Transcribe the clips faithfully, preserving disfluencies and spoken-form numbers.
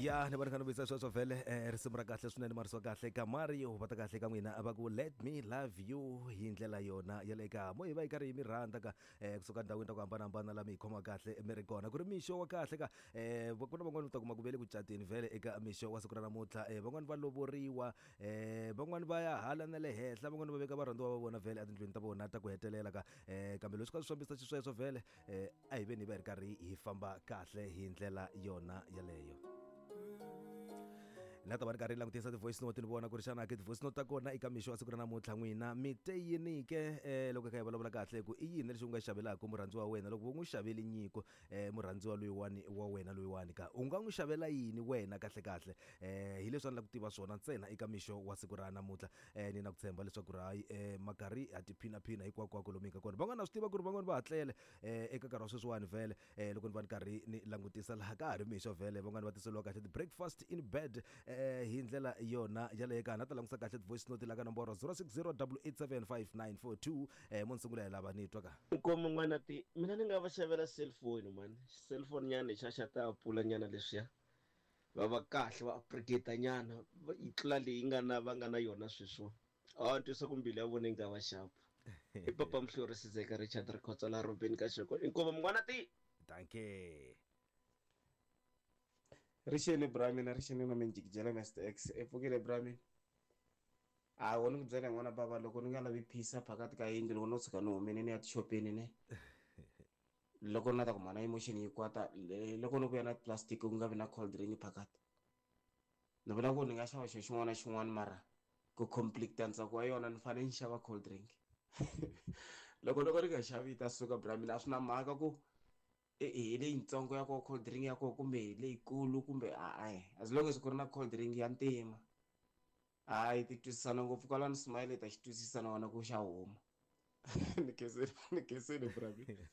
Ya ni vona kha ni vuyisa sweswo vhele eh, risimu ra kahle swinene marisiwa kahle ka Mario va ta kahle ka n'wina va ku "Let Me Love You" hi ndlela yona ya le ka mo hi va yi karhi yi mi rhandza ka eh, kusuka ndhawini ta ku hambanahambana la mi hi khoma kahle mi ri kona ku ri mixo wa kahle ka eh, ku na van'wani u ta kuma ku ve le ku cateni vhele eka mixo wa siku ra namuntlha eh, van'wani va lovoriwa eh, van'wani va ya hala na le henhla, van'wani va veka varhandziwa va vona vhele etindlwini ta vona ta ku hetelela ka eh, kambe leswi ka swi fambisa xisweswo vhele eh, a hi veni hi va hi ri karhi hi famba kahle hi ndlela yona yaleyo. Na ta va ri karhi langutisa ti-voice note ni vona ku ri xana ke ti-voice note ta kona eka mixo wa siku ra namuntlha n'wina mi te yini ke eh, loko hi kha hi vulavula kahle ku i yini lexi u nga xavelaka murhandziwa wa wena loko vo n'wi xaveli nyiko eh, murhandziwa loyiwani wa wena loyiwani ka u nga n'wi xavela yini wena kahle kahle eh, hi leswi a ni lava ku tiva swona ntsena eka mixo wa siku ra namuntlha eh, ni na ku tshemba leswaku ri hayi eh, makarhi ha tiphinaphina hinkwakwako lomu hi nga kona. Van'wana na swi tiva ku ri van'wani va hatlele eh, eka nkarhi wa sweswiwani vhele eh, loko ni va ni karhi ni langutisa laha ka ha ri mixo vhele van'wani va tiseliwa kahle ti-breakfast in bed eh, hi ndlela yona yaleyo ka na ta langutisa kahle ti-voice note la ka nomboro zero six zero eight eight seven five nine four two eh, mo ni sungula hi lava ni twa ka. Nkomo n'wana ti mina ni nga va xavela cellphone mani, cellphone nyana xa xa ta pfula nyana leswiya va va kahle va upgrade nyana va yi tlula leyi nga na va nga na yona sweswiwa. A ni twisa ku mbilu ya vona yi nga va xapu. I papa Mhlori Sizeka Richard Rikhotso la Robin ka xoko. Inkomu n'wana ti. Danke. Rixeni bra mina, rixeni na minjikijela Mister X i pfukile bra mina. A wo ni ku byela n'wana bava loko ni nga lavi phisa phakathi ka yindlu loko no tshuka ni humile ni ya tixopeni ne loko ni ta ku mhana emotion yi kwata loko ni vuya na plastic ku nga vi na cold drink phakathi ni vula ku ni nga xava xilo xin'wana na xin'wana mara ku complete ntsako wa yona ni fanele ni xava cold drink. Loko loko ni nga xavi yi ta suka bra mina. A swi na mhaka ku hi leyitsongo ya koho cold drink ya koho kumbe hi leyikulu kumbe a as long as ku ri na cold drink ya ntima hayi ti twisisana ngopfu kwalano. Smile ta xi twisisa na wona ku xa huma. Ni khensile, ni khensile bra mina.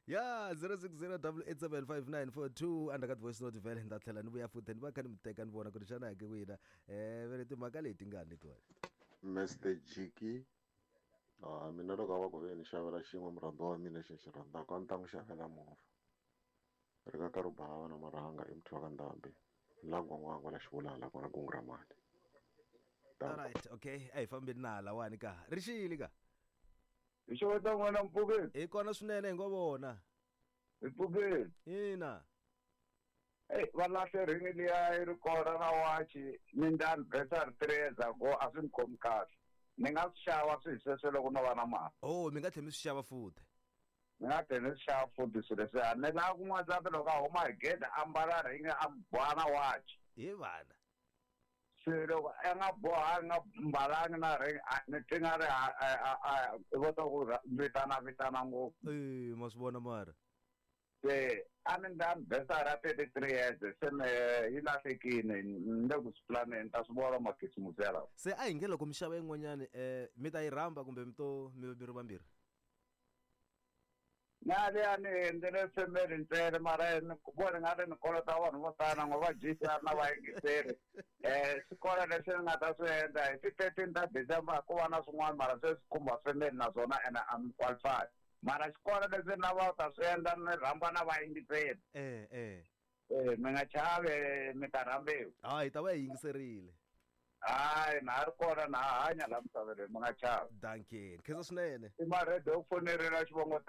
Ya zero six zero eight eight seven five nine four two andza ka ti-voice note vhele ni ta tlhela ni vuya futhi ni va kha ni mi teka ni vona ku ri xana ke wina um vele timhaka leti nga letiwani. Mister Jiki, ah, mina loko a va ku ve ni xavela xin'we murhandziwa wa mina lexi ni xi rhandzaka a ni ta n'wi xavela movha. Ri ka karhi u bava na marhanga i muthu wa ka ndhambi la ngwangwangwa la xivulala ku na kungu ra mali. Alright, okay, a hi fambeni na halawani ka rixili ka. Hi xeweta n'wana mpfukeni. Hi kona swinene hi ngo vona. Hi pfukeni. Ina. Eyi va lahle ringi liya yi ri kona na wachi ni ndla anniversary three years ago a swi ni khomi kahle. Ni nga swi xava swi hi sweswo loko no va na mali. Oh, mi nga tlhela mi swi xava futhi? Ni nga tlhela ni swi xava futhi swilo leswiya. Ni lava ku n'wansati loko a huma hi gede a mbala ringi a boha na wachi. Hi vana. Se loko a nga bohangi nga mbalangi na ring ni twi nga ri i kota ku vitana vitana ngopfu. E ma swi vona mara. Se a ni ndla anniversary ya thirty three years se me yi lahlekile ni le ku swi planeni ni ta swi vona makhisimusi ya lawa. Se a hi nge loko mi xava yin'wanyani um mi ta yi rhamba kumbe mi to mi mi ri vambirhi? Na liya ni endlele family ntsena mara ni vona nga ri ni kolota vanhu vo tala ngo va dyisa na vayingiseri um swi kona leswi ni nga ta swi endla hi ti-thirteen ta December ku va na swin'wana mara se swi khumba family naswona ene a mi qualify mara xikolo leswi ni lavaka ku ta swi endla ni rhamba na vayingiseri. Eh eh. Eh mi nga chavi mi ta rhambiwa. Hayi hi ta va hi yingiserile. Hayi na ha ri kona na ha hanya laha misaveni mi nga chavi. Dankie, khensa swinene. I maredo ku fonerela xivongo.